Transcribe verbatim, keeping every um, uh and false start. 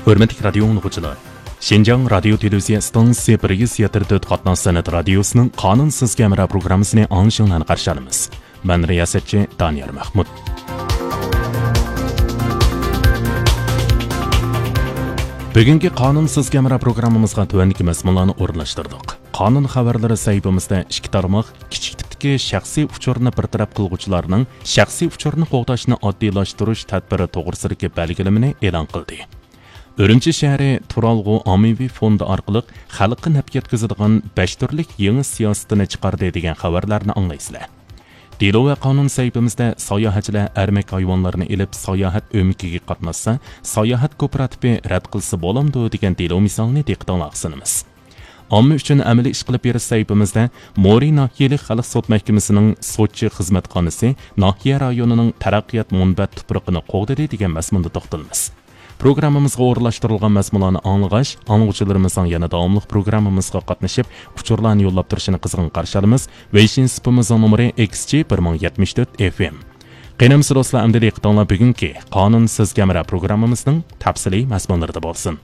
ھۆرمەتلىك رادىيو ئاڭلىغۇچىلار، شىنجاڭ رادىيو تېلېۋىزىيە ئىستانسىسى بىر يۈز يەتتە تۆت قاتناش سەنئەت رادىيوسىنىڭ قانۇنسىز كامېرا پروگراممىسىنى ئاڭلىشىڭلارنى قارشى ئالىمىز. مەن رىياسەتچى دانىيار مەخمۇت. بۈگۈنكى قانۇنسىز كامېرا پروگراممىمىزغا تۆۋەندىكى مەزمۇنلارنى ئورۇنلاشتۇردۇق. قانۇن خەۋەرلىرى سەھىپىمىزدە ئىككى تارماق كىچىك تىپتىكى شەخسىي ئۇچۇرنى بىر تەرەپ قىلغۇچىلارنىڭ شەخسىي ئۇچۇرنى قوغداشنى ئاددىيلاشتۇرۇش تەدبىرى توغرىسىدىكى بەلگىلىمىنى ئېلان قىلدى. ئۈرۈمچى شەھىرى تۇرالغۇ ئاممىۋى فوندى ئارقىلىق خەلققە نەپ يەتكۈزىدىغان بەش تۈرلۈك يېڭى سىياسىتىنى چىقاردى دېگەن خەۋەرلەرنى ئاڭلايسىلەر. دېلو ۋە قانۇن سەھىپىمىزدە ساياھەتچىلەر ئەرمەك ھايۋانلارنى ئېلىپ ساياھەت ئۆمىكىگە قاتناشسا، ساياھەت كوپىراتىپى رەت قىلسا بولامدۇ دېگەن دېلو مىسالىنى دىققىتىڭلارغا سۇنىمىز. ئامما ئۈچۈن ئەمەلىي ئىش قىلىپ بېرىش سەھىپىمىزدە مورى ناھىيەلىك خەلق سوت مەھكىمىسىنىڭ سوتچى خىزمەتخانىسى ناھىيە رايونىنىڭ تەرەققىيات مۇنبەت تۇپرىقىنى قوغدىدى دېگەن مەزمۇندا توختىلىمىز. پروگراممىمىزغا ئورۇنلاشتۇرۇلغان مەزمۇنلارنى ئاڭلىغاچ، ئاڭلىغۇچىلىرىمىزنىڭ يەنە داۋاملىق پروگراممىمىزغا قاتنىشىپ، ئۇچۇرلارنى يوللاپ تۇرۇشىنى قىزغىن قارشى ئالىمىز. ۋېيشىن سۇپىمىزنىڭ نومۇرى ئېكس جى بىر مىڭ يەتمىش تۆت ئېف ئېم. قېنى ئەمىسە دوستلار، ئەمدى دىققىتىڭلار بۈگۈنكى قانۇنسىز كامېرا پروگراممىمىزنىڭ تەپسىلىي مەزمۇنلىرىدا بولسۇن.